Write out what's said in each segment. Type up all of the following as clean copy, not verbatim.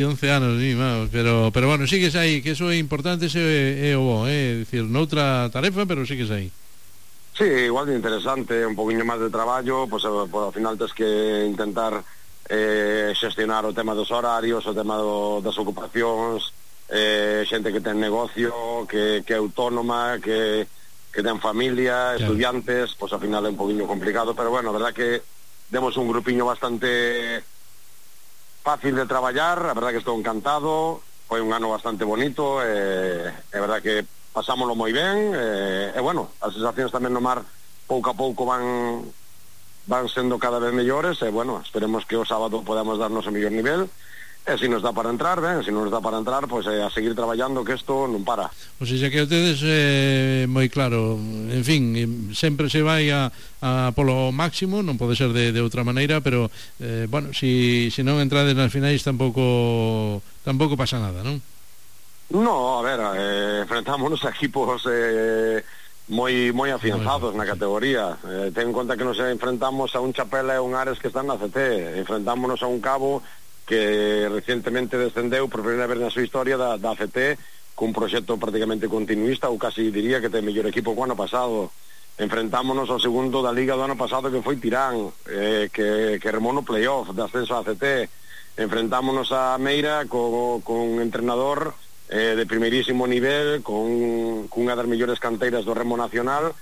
11 anos, sí, vamos, pero bueno, sigues aí, que eso é importante, ese é o bo, dicir, noutra tarefa, pero sigues aí. Sí, igual de interesante, un poquinho máis de traballo, pois ao final tens que intentar xestionar o tema dos horarios, o tema das ocupacións, xente que ten negocio, que é autónoma, que ten familia, claro, estudiantes, pois ao final é un poquinho complicado, pero bueno, a verdad que demos un grupiño bastante fácil de traballar, a verdad que estou encantado, foi un ano bastante bonito, é verdad que pasámoslo moi ben, e bueno, as sensacións tamén no mar pouco a pouco van sendo cada vez mellores, e bueno, esperemos que o sábado podamos darnos o mellor nivel, e se nos dá para entrar, ben, se non nos dá para entrar, pois a seguir traballando, que isto non para. O sea, que ustedes moi claro, en fin, sempre se vai a polo máximo, non pode ser de outra maneira, pero bueno, si non entrades nas finais tampouco pasa nada, non? No, a ver, enfrentámonos a equipos moi afianzados na categoría. Ten en conta que nos enfrentamos a un Chapela e un Ares que están na CT, enfrentámonos a un Cabo que recientemente descendeu por primeira vez na súa historia da ACT cun proxecto prácticamente continuista, ou casi diría que ten mellor equipo que o ano pasado. Enfrentámonos ao segundo da Liga do ano pasado, que foi Tirán, que remou no playoff de ascenso a ACT. Enfrentámonos a Meira con entrenador de primeirísimo nivel, con unha das mellores canteiras do remo nacional,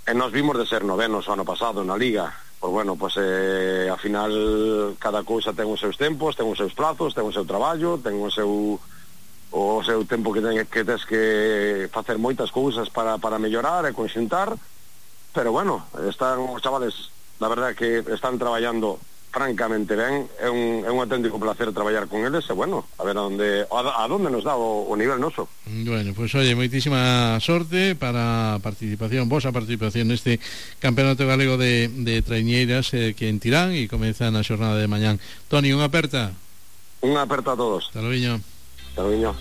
e nos vimos de ser novenos o ano pasado na Liga. Pois bueno, pois ao final cada cousa ten os seus tempos, ten os seus plazos, ten o seu traballo, ten o seu tempo que tens que facer moitas cousas para mellorar e conxuntar, pero bueno, están os chavales, la verdad que están traballando francamente ben, é un auténtico placer traballar con eles, e bueno, a ver a donde nos dá o nivel noso. Bueno, pues oye, moitísima sorte para vosa participación neste Campeonato Galego de Traiñeiras que en Tirán, e comeza na xornada de mañán. Toni, unha aperta. Unha aperta a todos. Hasta logo. Hasta logo.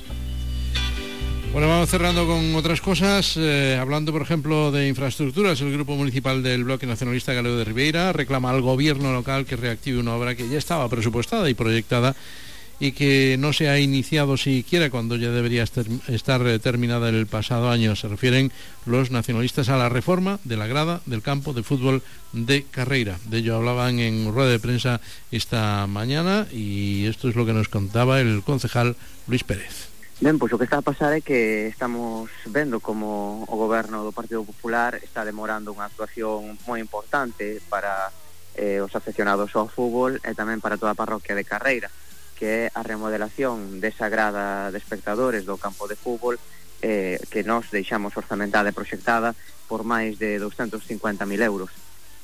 Bueno, vamos cerrando con otras cosas, hablando por ejemplo de infraestructuras. El Grupo Municipal del Bloque Nacionalista Galego de Ribeira reclama al gobierno local que reactive una obra que ya estaba presupuestada y proyectada y que no se ha iniciado siquiera cuando ya debería estar terminada el pasado año. Se refieren los nacionalistas a la reforma de la grada del campo de fútbol de Carreira. De ello hablaban en rueda de prensa esta mañana, y esto es lo que nos contaba el concejal Luis Pérez. Ben, pois o que está a pasar é que estamos vendo como o goberno do Partido Popular está demorando unha actuación moi importante para os afeccionados ao fútbol e tamén para toda a parroquia de Carreira, que é a remodelación desa grada de espectadores do campo de fútbol que nós deixamos orzamentada e proxectada por máis de 250.000 euros.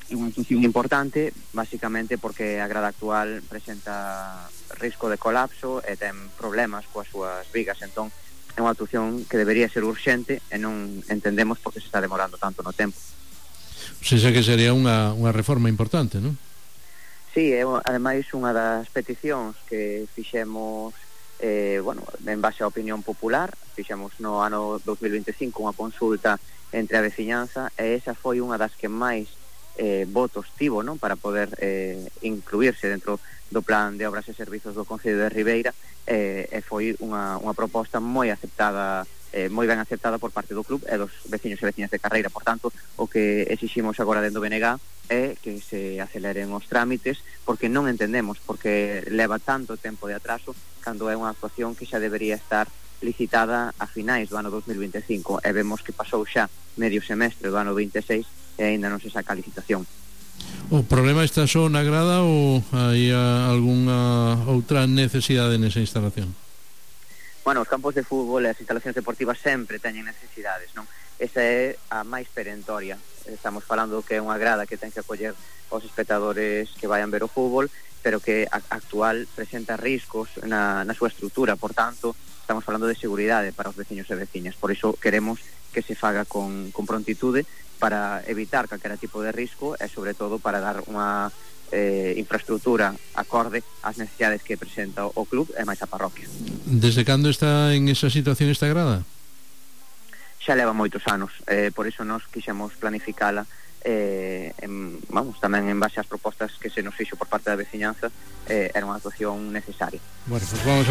É unha actuación importante, basicamente porque a grada actual presenta risco de colapso e ten problemas coas súas vigas, entón é unha actuación que debería ser urxente e non entendemos por que se está demorando tanto no tempo. O sea, que sería unha reforma importante, non? Sí, é ademais unha das peticións que fixemos en base á opinión popular. Fixemos no ano 2025 unha consulta entre a veciñanza, e esa foi unha das que máis votos tivo, non, para poder incluirse dentro do plan de obras e servizos do Concello de Ribeira, e foi unha proposta moi aceptada, moi ben aceptada por parte do club e dos veciños e veciñas de Carreira. Por tanto, o que exiximos agora dentro do BNG é que se aceleren os trámites, porque non entendemos porque leva tanto tempo de atraso cando é unha actuación que xa debería estar licitada a finais do ano 2025, e vemos que pasou xa medio semestre do ano 26 e ainda non se saca a licitación. O problema está só na grada ou hai algunha outra necesidade nesa instalación? Bueno, os campos de fútbol e as instalacións deportivas sempre teñen necesidades, non? Esa é a máis perentoria. Estamos falando que é unha grada que ten que acoller os espectadores que vayan ver o fútbol, pero que actual presenta riscos na súa estrutura. Por tanto, estamos falando de seguridade para os veciños e veciñas. Por iso queremos que se faga con prontitude para evitar calquera tipo de risco e, sobre todo, para dar unha infraestructura acorde ás necesidades que presenta o club e máis a parroquia. Desde cando está en esa situación esta grada? Xa leva moitos anos, por iso nos quixemos planificala tamén en base ás propostas que se nos fixo por parte da veciñanza, era unha actuación necesaria. Bueno, pues vamos a ver